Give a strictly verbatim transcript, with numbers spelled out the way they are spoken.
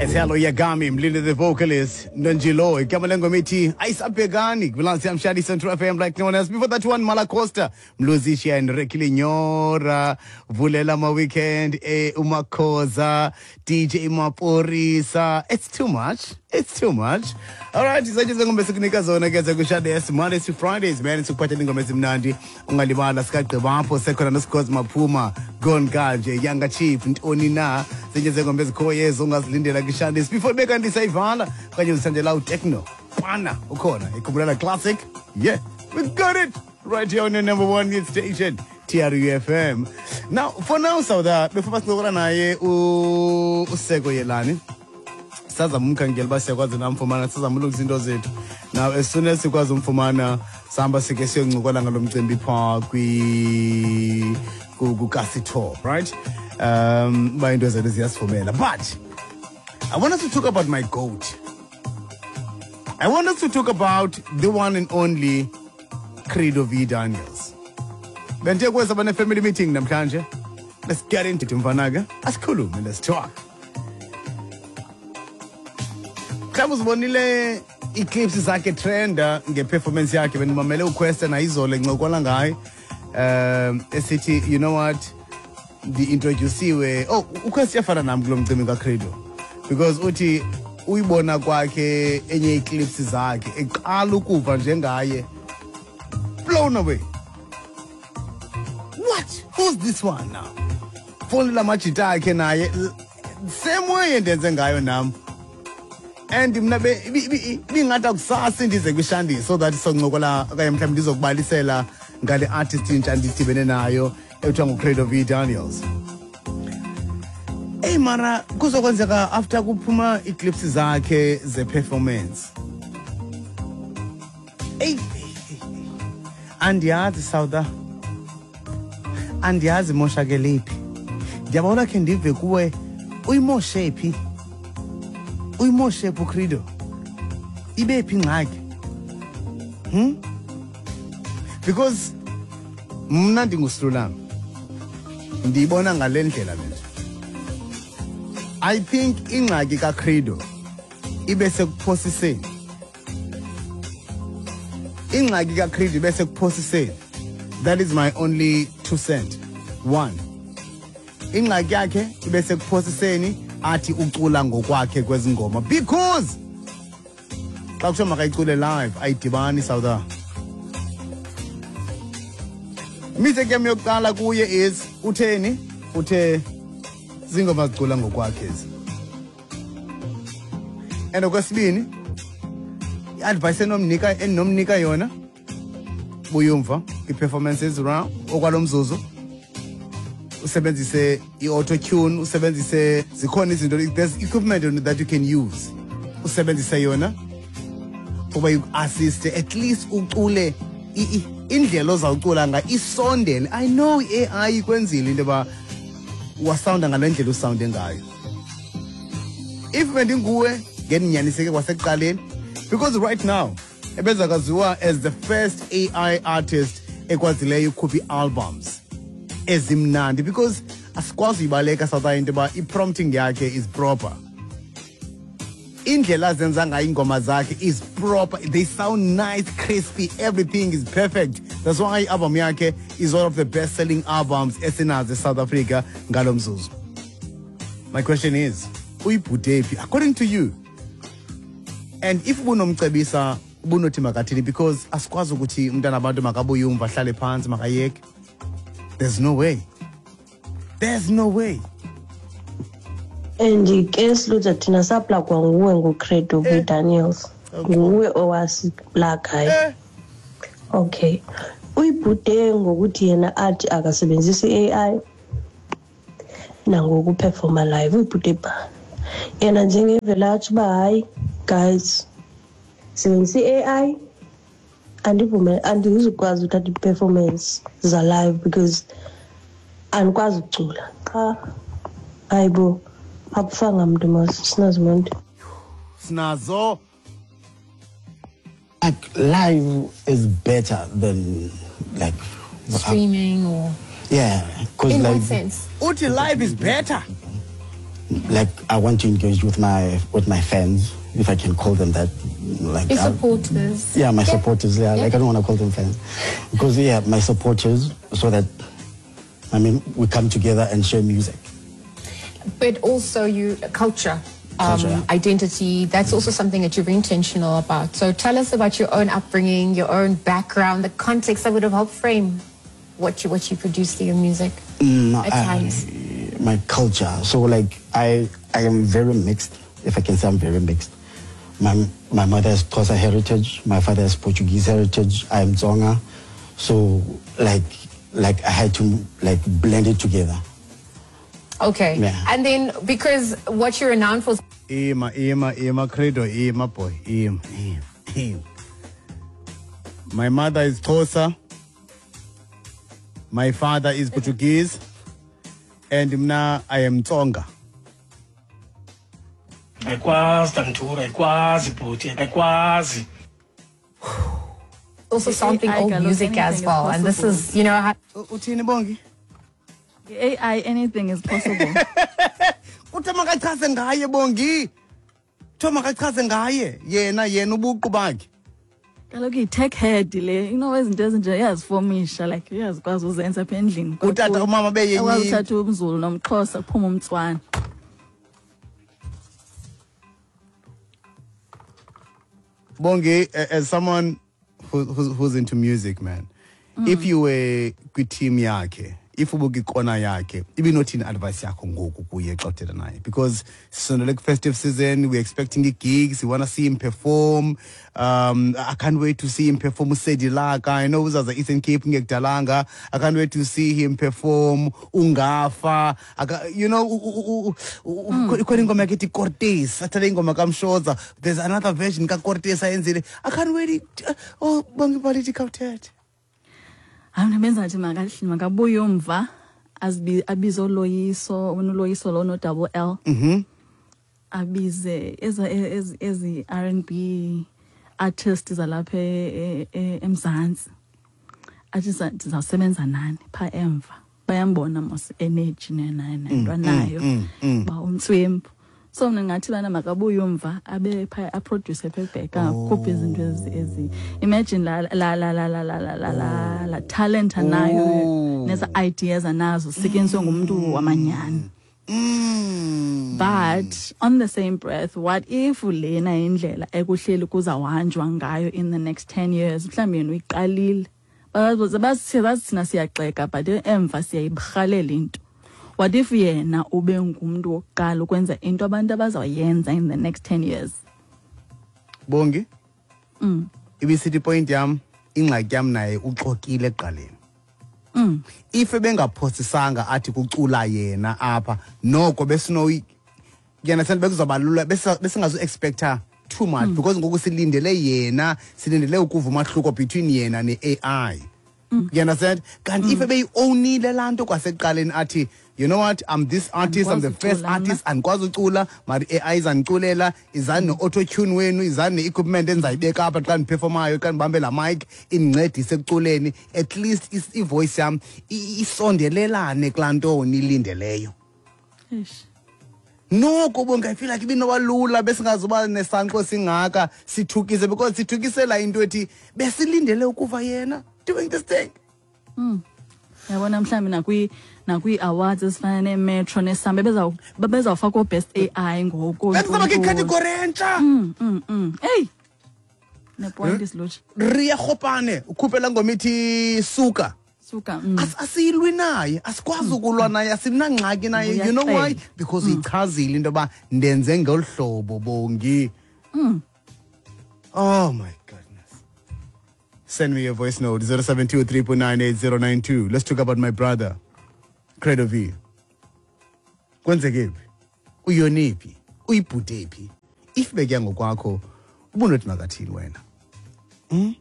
Hello Yagami, Mlinde the vocalist, Nonjilo, igama lengoma ithi Ayisabhekani, Kulansi Amshadi Central F M like no one else. Before that one, Malacosta, Mluzisha and Rekili Nyora, Vulela Ma Weekend, eh, Umakoza, D J Maporisa. It's too much. It's too much. All right, izaje zengoma esikunika zona ke zakushade Mondays to Fridays, man, sikuphathela ingoma ezimnandi. Ungalibala sikagqiba apho sekhona noSikhozi Maphuma, Gone Kanje, Younger Chief, Ntoni na, zenye zengoma ezikhoyo ezo ungazilindela kushade. Before bekanti sayivala, kanye usandela uTechno. Pana ukhona, ikhumbula classic. Yeah, we got it right here on your number one hit station, T R U F M. Now, for now, Sauda, before basincokola naye uSeko Yelani. Sazama umkhangela uba siyakwazi namfumana, sazama ulungisa into zethu. Now, as soon as sikwazi umfumana, sihamba sike siyoncokola ngalo mcimbi phaa kwi kukasi tour, right? Um, uba into zethu ziyasivumela. But I want us to talk about my goat. I want us to talk about the one and only Credo V Daniels. Bentiye kweza bane family meeting namhlanje. Let's get into it, mfanaga. Asikhulume, let's talk. Mhlawumbe uzibonile ii-clips zakhe trenda nge-performance yakhe. Bendimamele uQuesta nayizolo encokola ngaye. Um, esithi, you know what, ndi-introduciwe. Oh, uQuesta uyafana nam kulo mcimbi kaCredo. Because uthi uyibona kwakhe enye ii-clips zakhe eqala ukuva njengaye, blown away. What? Who's this one now? Fonela amajita akhe naye same way endenze ngayo nam. And mna ibingathi akusasa ndize kwishandi so that soncokola okanye mhlawumbi ndizokubalisela ngale artist intsha ndidibene nayo ekuthiwa nguCredo V Daniels. Hey mara kuzokwenzeka after kuphuma ii-clips zakhe ze-performance. Hey, andiyazi Sauda, andiyazi imoshakele phi. Ndiyabona khe ndive kuwe uyimoshe phi? Uyimoshe phi uCredo? Ibe phi ingxaki? Hmm? Because mna ndingusilulama, ndiyibona ngale ndlela le nto. I think ingxaki kaCredo ibe sekuphosiseni. Ingxaki kaCredo ibe sekuphosiseni. That is my only two cent. One. Ingxaki yakhe ibe sekuphosiseni athi ucula ngokwakhe kwezingoma because xa kuthiwa makayicule live ayidibani Sauda. Mistake yam yokuqala kuye is utheni? Uthe zingoma zicula ngokwakhe ezi. And okwesibini, i-advice enomnika endinomnika yona buyumva i-performances round okwalomzuzu usebenzise i-auto tune, usebenzise zikhona izinto, there's equipment that you can use, usebenzise yona ukuba iku-assiste at least ucule indlela ozawucula ngayo isondele. I know i-A I ikwenzile into yoba wasounda ngale ndlela usounde ngayo. If bendinguwe ngendinyaniseke kwasekuqaleni, because right now ebezakaziwa as the first A I artist ekwazileyo ukhupha ii-albums ezimnandi, because asikwazi uyibaleka South into yoba i-prompting yakhe is proper. Indlela azenza ngayo iingoma zakhe is proper. They sound nice, crispy, everything is perfect. That's why i-album yakhe is one of the best-selling albums esinazo eSouth Africa ngalo mzuzu. My question is, uyibhude phi according to you? And if ubunomcebisa ubunothi makathini, because asikwazi ukuthi umntana abantu makabuye umva ahlale phantsi makayeke. There's no way. There's no way. And ke Silutha thina saplagwa nguwe nguCredo V Daniels. Nguwe owasiplagayo. Okay. Uyibhude ngokuthi yena athi akasebenzisi i-A I nangokuperforma live. Uyibhude pha. Yena njengevela athi uba hayi guys, sebenzisa i-A I andivume andizukwazi uthatha i-performance za live because andikwazi ukucula. Qha hayibo akufanga mntu mos sinazo muntu. Sinazo. Like live is better than like streaming or yeah, because in like what sense? Uthi live is better. Like I want to engage with my with my fans, if I can call them that. Like your supporters. I, yeah, my yeah. supporters. Yeah, yeah, like I don't want to call them fans, because yeah, my supporters, so that I mean we come together and share music. But also, you culture, um, culture yeah. identity. That's also something that you're very intentional about. So tell us about your own upbringing, your own background, the context that would have helped frame what you what you produce through your music mm, at I, times. My culture. So like I, I am very mixed. If I can say I'm very mixed. My my mother has Xhosa heritage. My father has Portuguese heritage. I am Tsonga. So like like I had to like blend it together. Okay. Yeah. And then because what you're renowned for. Ima ima ima credo ima boy ima ima ima. My mother is Xhosa. My father is Portuguese. And mna I am Tsonga. Ayikwazi Tantura, ayikwazi bhuti, ayikwazi. Also sampling old music as well, and this is, you know, how Uthini Bongi? A I, anything is possible. Kuthe makachaze ngaye Bongi. Kuthe makachaze ngaye yena yena ubuqu bakhe. Kaloku yi-tech head le, you know, izinto ezinje iyazifomisha, like iyazikwazi uzenza apha endlini. Utata umama beyenye. Akwazi uthatha umZulu nomXhosa kuphuma umTswana. Bongi, as someone who, who's, who's into music, man, mm. if you were kwi-team yakhe, if ubukikona yakhe, ibinothini advice yakho ngoku kuye xa uthetha naye? Because sisondele ku-festive season, we're expecting gigs, we want to see him perform. Um, I can't wait to see him perform uSedilaka. I know uzaza Eastern Cape ngekudalanga. I can't wait to see him perform Ungafa. I, you know, ikhona ingoma yakhe ethi Cortez, athathe ingoma kaMshoza. There's another version kaCortez ayenzile. I can't wait. Oh, Bongi Baliti khawuthethe. Hayi mna benza nje makabuye umva abize uLoyiso, uLoyiso lo no double L. Mhm. Abize ezi ezi R and B artists zalapha eMzantsi. Athi sizawusebenza nani pha emva. Bayambona mos energy nento anayo ba umtswembu. So mina ngathi bana makabuye umva abe pha a produce pha back akhuphe izinto ezi imagine la la la la la la la la la talent anayo neza ideas anazo sityenziswe ngumuntu wamanyani. But on the same breath, what if lena indlela ekuhleli kuzahanjwa ngayo in the next ten years mhlawumbe yena uyiqalile bazi thina siyaxeka but emva siyayibarhalela into. What if yena ube ngumuntu wokuqala ukwenza into abantu abazayenza in the next ten years? Bongi? Mm. Ibisithi point yam, ingxaki yam naye uxokile ekuqaleni. Mm. If ebengaphosisanga athi kucula yena apha, noko besino yena send bekuzobalula besingazu expecta too much mm. because ngoku silindele yena, silindele ukuva umahluko between yena ne-A I. Mm. You understand? Kanti mm. if ebeyi-ownile laa nto kwasekuqaleni athi, you know what, I'm this artist, I'm the first artist, andikwazi ucula, mara i-A I izandiculela, izani no-auto-tune wenu, izani ne-equipment endizayibeka apha xa ndiperformayo, xa ndibambe laa mic, indincedise ekuculeni. At least ivoice yam isondelelane kulaa nto niyilindeleyo. Eish. Noko Bongi, I feel like ibinoba besingazuba nesanqo singaka sithukise because sithukisela into ethi besilindele ukuva yena doing this thing. Mm. Yabona mhlawumbe nakwi nakwi awards ezifana neMetro neSamba beza bezawufaka best A I ngoku. Bekuzoba category entsha. Mm mm mm. Hey. Ne point is lutsha. Ria Khopane ukhuphela ngoma ithi suka. Suka. Mm. As asilwi naye, asikwazi ukulwa naye, asinangxaki naye. You know why? Because ichazile into yoba ndenze ngolu hlobo Bongi. Mm. Oh my goodness. Send me your voice note zero seven two three nine eight zero nine two. Let's talk about my brother, Credo V. Kwenzeke phi? Uyone phi? Uyibhude phi? If bekuya ngokwakho, ubunothi makathini wena? Mm?